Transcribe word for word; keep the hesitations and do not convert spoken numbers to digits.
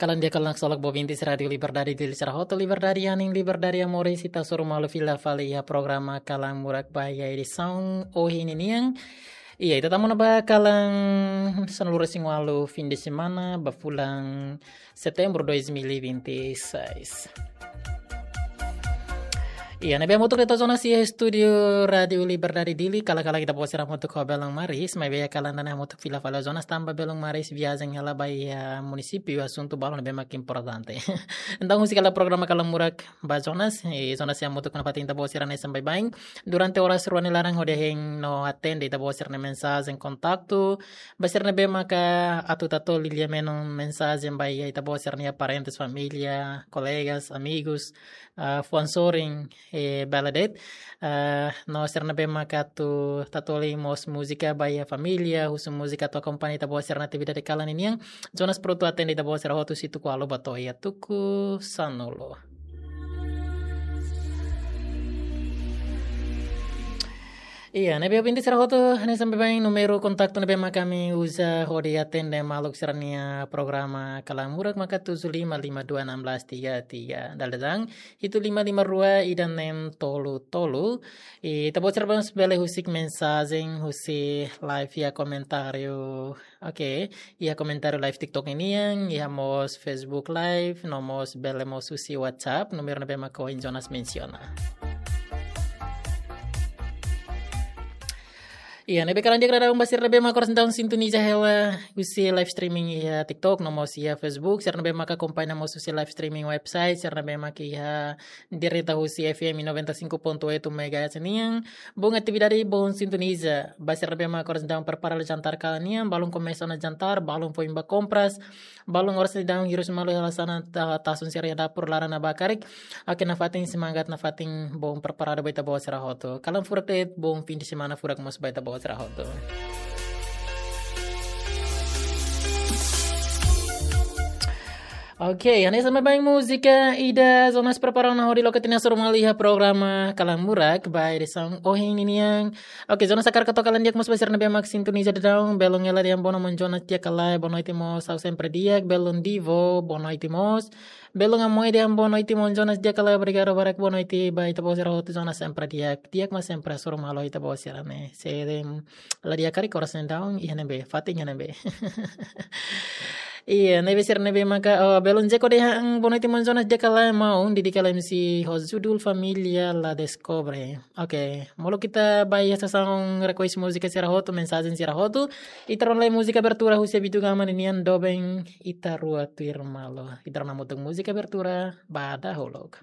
Kalan di'ak, kalan ksolok, ba ouvintes Rádiu Liberdade Dili sira hotu, liberdade anin, liberdade amor, ita hasoru malu fila fali iha programa Kalan Murak ba iha edisaun ohin ninian. Iya, ita tama ona ba kalan sanulu-resin-ualu, fim de semana, ba fulan Setembru dois mil e vinte e seis. Iya, ne'ebé hamutuk de'it ho Jonas iha estúdiu Rádiu Liberdade Dili, kala-kala ita-boot sira hamutuk ho belun Maris, maibé kalan ida-ne'e hamutuk fila fali ho Jonas tanba belun Maris viajen hela ba iha munisípiu, asuntu balu ne'ebé mak importante. Entaun, husik hela programa Kalan Murak ba Jonas, i Jonas sei hamutuk nafatin ita-boot sira hanesan baibain durante oras rua nia laran hodi hein no atende ita-boot sira-nia mensajen kontaktu, ba sira ne'ebé maka atu tatoli lia-menon mensajen ba iha ita-boot sira-nia parentes, família, kolegas, amigus, ah, fuan sorin, eh, bele de'it. Ah, no sira ne'ebé maka atu tatoli mós múzika ba iha família, husu múzika atu akompaña ita-boot sira-nia atividade kalan ninian. Jonas prontu atende ita-boot sira hotu husi tuku ualu ba to'o iha tuku sanulu. Iya, ne'ebé ouvinte sira hotu, hanesan baibain númeru kontaktu ne'ebé maka ami uza hodi atende maluk sira-nia programa Kalan Murak maka tujuh lima lima dua enam belas tiga tiga. Dala ida tan, hitu lima lima rua ida neen tolu tolu. I ita-boot sira mós bele husik mensajen husi live iha komentáriu. Oke, iha komentáriu live TikTok ninian, iha mós Facebook Live, no mós bele mós husi WhatsApp, númeru ne'ebé mak ohin Jonas mensiona. Iya, ne'ebé kalan di'ak daudaun ba sira ne'ebé mak oras ne'e daudaun sintoniza hela husi live streaming iha TikTok, no mós iha Facebook, sira ne'ebé mak akompaña mós husi live streaming website, sira ne'ebé mak iha direta husi F M noventa e cinco ponto oito megahertz nian. Boa atividade, boa sintoniza. Ba sira ne'ebé mak oras ne'e daudaun prepara jantar kalan nian, balun komesa ona jantar, balun foin ba kompras, balun oras ne'e daudaun hirus malu hela hanesan ta-, tasun sira iha dapur, laran ne'e ba karik. Oke, nafatin semangat, nafatin boa preparadu ba ita-boot sira hotu. Kalan furak de'it, boa fim de semana furak mós ba ita-boot sira hotu. Oke, hanesan baibain múzika ida Jonas prepara ona hodi loke tiha ona hasoru malu iha programa Kalan Murak ba edisaun ohin ninian. Oke, Jonas hakarak hato'o kalan di'ak mós ba sira ne'ebé mak sintoniza daudaun, belun Ela Dian, boa noite maun Jonas, di'ak ka lae? Boa noite mós, ha'u sempre di'ak. Belun Divo, boa noite mós. Belun Amoy Dian, boa noite maun Jonas, di'ak ka lae? Obrigadu barak, boa noite ba ita-boot sira hotu. Jonas sempre di'ak, di'ak mak sempre hasoru malu ita-boot sira ne'e. Se la di'ak karik oras ne'e daudaun, iha ne'ebé, fatin iha ne'ebé. Iya, ne'ebé sira ne'ebé maka, oh, belun Jeko dehan, boa noite maun Jonas, di'ak ka lae maun, Didi Kalem si ho judul Família La Descobre. Oke, molok ita ba iha sasán request múzika sira hotu, mensajen sira hotu. Ita rona lai múzika abertura husi Abitu Gama ninian, doben Ita Rua Tuir Malu. Ita rona hamutuk múzika abertura ba dahuluk.